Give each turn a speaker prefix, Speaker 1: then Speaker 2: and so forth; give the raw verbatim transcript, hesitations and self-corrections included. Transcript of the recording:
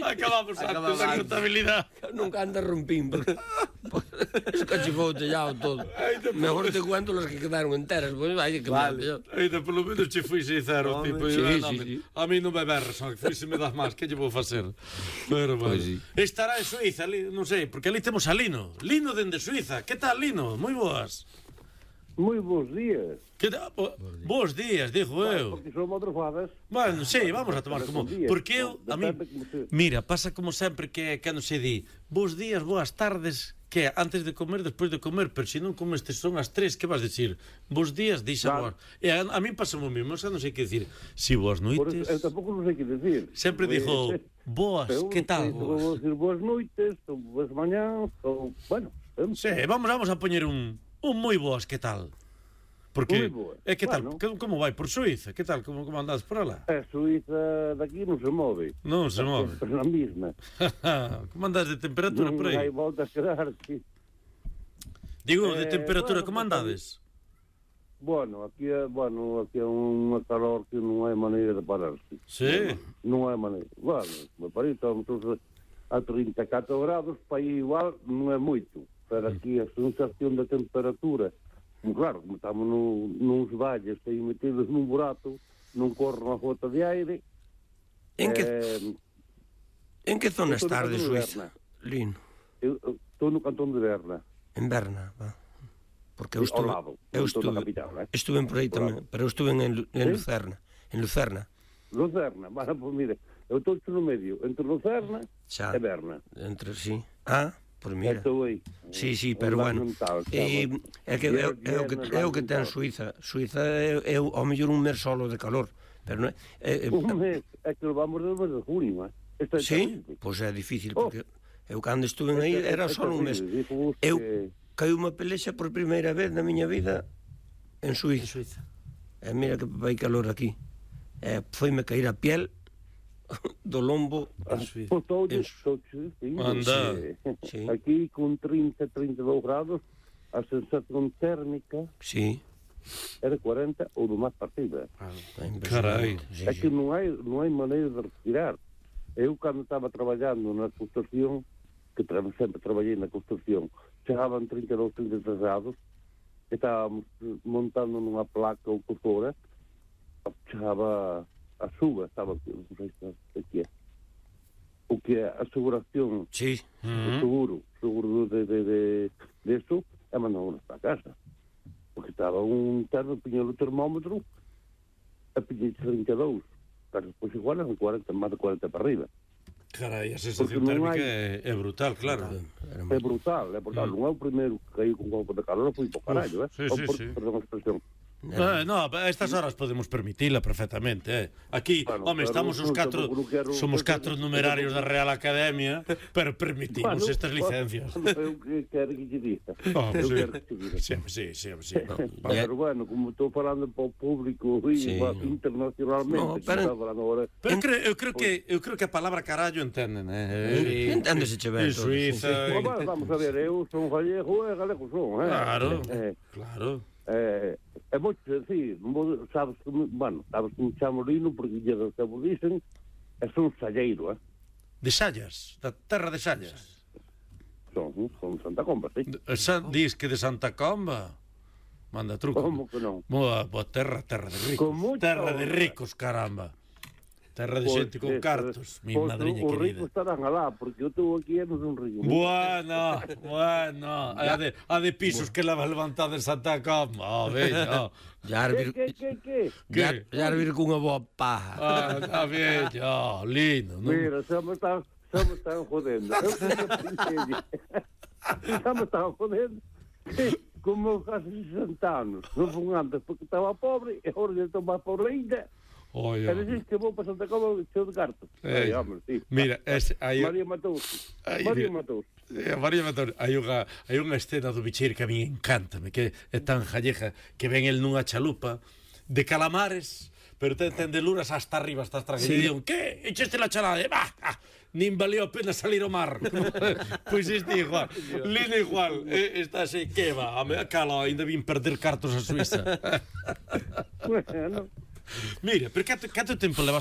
Speaker 1: Acabamos antes da contabilidade.
Speaker 2: Nunca anda rompín, porque es cachifou tellado todo. Mejor te cuento las que quedaron enteras, pues vai que
Speaker 1: vale. Ainda polo menos che fui sincero, tipo,
Speaker 2: sí,
Speaker 1: eu,
Speaker 2: sí,
Speaker 1: no,
Speaker 2: sí.
Speaker 1: A mí non me berres, só que fui se me das máis, que lle vou facer? Pero bueno. Pues sí. Estará en Suiza, ali, non sei, porque ali temos a Lino. Lino dende Suiza. Que tal, Lino? Moi boas.
Speaker 3: Moi bons días.
Speaker 1: Que tal? Bo, bons días, digo eu.
Speaker 3: Porque son motrofadas.
Speaker 1: Bueno, sí, vamos a tomar como... Porque eu, a mí... Mira, pasa como sempre que cando se di bons días, boas tardes, que antes de comer, despois de comer, pero se non comes son as tres, que vas dicir? Bons días, dixa boas. E a, a mí pasa o mismo, xa non sei que dicir. Si boas noites...
Speaker 3: Eu tampouco non sei que dicir.
Speaker 1: Sempre dixo boas, que tal?
Speaker 3: Vou dicir boas noites, ou boas mañás, ou... Bueno...
Speaker 1: Sí, vamos, vamos a poñer un... Un moi boas, que tal? Porque é que tal, bueno. Como vai por Suiza? Que tal, como, como andas por alá?
Speaker 3: A Suiza daqui non se move.
Speaker 1: Non se move.
Speaker 3: É a mesma.
Speaker 1: Como andas de temperatura
Speaker 3: non
Speaker 1: por aí?
Speaker 3: Non hai volta a quedar, sí.
Speaker 1: Digo, de eh, temperatura, bueno, como andades?
Speaker 3: Bueno, aquí é, bueno, aquí é unha calor que non hai maneira de pararse.
Speaker 1: Sí?
Speaker 3: Non, non hai maneira. Bueno, me parece, estamos a trinta e catro grados, para aí igual non é moito. Pero aquí a sensación da temperatura, claro, como estamos no, nuns valles aí metidos nun burato, non corre unha gota de aire.
Speaker 2: En que eh, en que zona estás de Suiza, Lino?
Speaker 3: Eu estou no cantón de Berna.
Speaker 2: En Berna, va. Porque eu estuve,
Speaker 3: lado,
Speaker 2: eu estuve,
Speaker 3: capital, eh?
Speaker 2: estuve por aí tamén, pero eu estuve en, en Lucerna, en Lucerna.
Speaker 3: Lucerna, bueno, pues mire, eu estou no medio, entre Lucerna
Speaker 2: xa,
Speaker 3: e Berna.
Speaker 2: Entre, sí. Ah, por mira.
Speaker 3: Aí,
Speaker 2: sí, sí, pero bueno. Mental, e, é que é, é o que é o que ten Suiza. Suiza é, é ao mellor un mes solo de calor, pero non é, é, é
Speaker 3: un mes, é que vamos do mes de junio, eh. Este
Speaker 2: sí, pois pues é difícil porque oh. eu cando estuve aí era só un mes. Eu caí unha pelexa por primeira vez na miña vida en Suiza. En Suiza. E mira que vai calor aquí. E foi-me cair a piel do lombo
Speaker 3: en Suiza.
Speaker 1: Anda.
Speaker 3: Sí. Aquí con trinta, trinta e dous grados a sensación térmica
Speaker 2: sí.
Speaker 3: era cuarenta ou do máis partida.
Speaker 1: Ah, carai.
Speaker 3: É que non hai, non hai maneira de respirar. Eu cando estaba traballando na construcción, que tra sempre traballei na construcción, chegaban trinta e dous, trinta e tres grados, estábamos montando nunha placa ou por fora, chegaba a suba, estaba, non sei se que é, o que é a aseguración,
Speaker 2: sí.
Speaker 3: o seguro, seguro de, de, de, de eso, é mandamos para casa. Porque estaba un terno, piña o termómetro, a piña trinta e dous, pero depois igual eran cuarenta, máis de cuarenta para arriba.
Speaker 1: Carai, a sensación térmica hai... é, é brutal, claro.
Speaker 3: É brutal, é brutal. Mm. Non é o primeiro que caí con golpe de calor, foi por carallo, eh?
Speaker 1: Sí, sí,
Speaker 3: por,
Speaker 1: sí.
Speaker 3: Perdón a expresión.
Speaker 1: Eh, no, a estas horas podemos permitila perfectamente, eh. Aquí, bueno, home, estamos os catro, quero, somos catro numerarios da Real Academia, pero permitimos bueno, estas licencias.
Speaker 3: Eu quero que te diga.
Speaker 1: Oh, sí. Sí, sí, sí, sí. No.
Speaker 3: Pero bueno, como estou falando para o público sí. internacionalmente,
Speaker 2: no, pero,
Speaker 3: ahora,
Speaker 1: pero creo, eu creo que eu creo que a palabra carallo entenden, eh.
Speaker 2: Sí, enténdese che ben.
Speaker 1: En Suiza.
Speaker 3: Sí. Bueno, vamos a ver, eu son gallego e galego son, eh.
Speaker 1: Claro.
Speaker 3: Eh,
Speaker 1: claro.
Speaker 3: Eh, é moito decir, sabes que, bueno, sabes que me chamo Lino porque lle do que vos dicen, é son salleiro, eh?
Speaker 1: De Sallas, da terra de Sallas.
Speaker 3: Son, son Santa Comba, sí.
Speaker 1: San, dis que de Santa Comba? Manda truco.
Speaker 3: Como que non?
Speaker 1: Boa, boa terra, terra de ricos. Terra de ricos, caramba. Terra de xente con cartos, mi madriña querida.
Speaker 3: Os ricos estarán alá, porque eu estou aquí e non son rico.
Speaker 1: Bueno, bueno. A de, a de pisos que leva levantada en Santa Comba. Oh, veño.
Speaker 3: Que, que, que, que?
Speaker 2: Ya vir cunha boa paja.
Speaker 1: Ah, está veño, lindo.
Speaker 3: Mira, xa me están, xa me están jodendo. Eu xa me están jodendo. Como casi sesenta anos. Non fun antes porque estaba pobre e agora estou máis pobre ainda.
Speaker 1: Oye,
Speaker 3: pero dices que vou para Santa Comba cheo de cartos.
Speaker 1: Ay, hombre, sí. Mira, es, hay...
Speaker 3: María Matous. María Matous.
Speaker 1: Eh, María Matous. Hai unha, hai unha escena do Bicheiro que a mí encántame, que é tan jalleja, que ven el nunha chalupa de calamares, pero ten, ten de luras hasta arriba, hasta atrás. Sí. E digo, que? Echaste la chalada? Bah, ah, nin valeu a pena salir ao mar. Pois este igual. Lino igual. Eh, está así, que va? A me cala, ainda vin perder cartos a Suiza.
Speaker 3: Bueno.
Speaker 1: Mira, pero canto, canto tempo levas